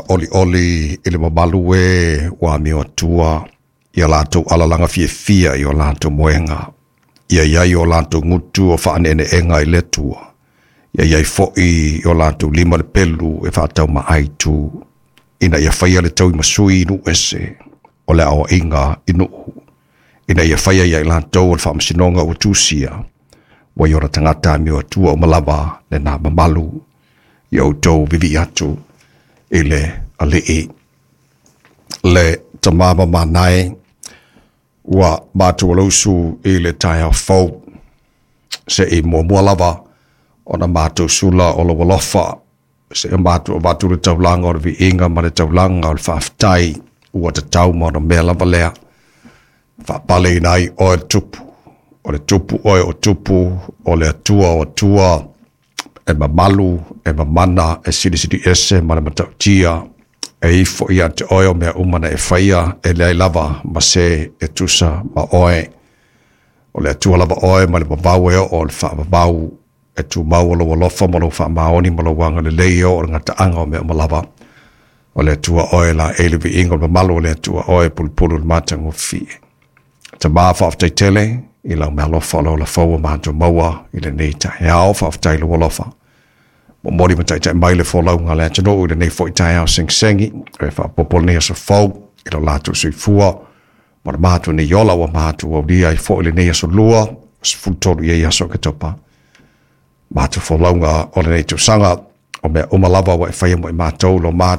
Olioli i le mamalu e ua amio atua ia latou alalaga fiafia i o latou moega. Ia i ai o latou gutu o faaneeneega i le Atua. Ia i ai foi i o latou lima le pelu e faataumaaitu, ina ia faia le tauimasui i nuu ese o le aoaiga i nuu, ina ia faia ia i latou o le faamasinoga ua tusia, ua i ona tagata amio atua uma lava lena mamalu. Ia outou vivii atu i le Alii. Le Tama mamanae, ua matou alausu i le taeao fou, se i muamua lava ona matou sula o lou alofa, se i matou avatu le taulaga o le viiga ma le taulaga o le faafetai, ua tatau ma ona mea lava lea. Faapaleina ai oe le Tupu, o le Tupu oe o Tupu, o le Atua o Atua, e mamalu, e mamana, e silisili ese ma le matautia, e ifo ia te oe o mea uma na e faia, e leai lava ma se e tusa ma oe. O le Atua lava oe ma le vavau e oo o le faavavau, e tumau o lou alofa ma lou faamaoni ma lou agalelei e oo le gataaga o mea uma lava. O le Atua oe la e le viiga o le mamalu o le Atua oe e pulupulu le matagofie. Tama faafetai tele i lau meaalofa o lau lafau ua matou maua i lenei taeao. Faafetai i lou alofa. Momoli ma taitai mai le folauga a le atunuu i lenei foi taeao segisegi, e faaopoopo lenei aso fou i lo latou soifua ma le matou nei ola ua matou aulia ai foi lenei aso lua, 13 i ai aso Oketopa. Matou folauga o lenei tausaga, o mea uma lava ua e faia mo i matou lo matou.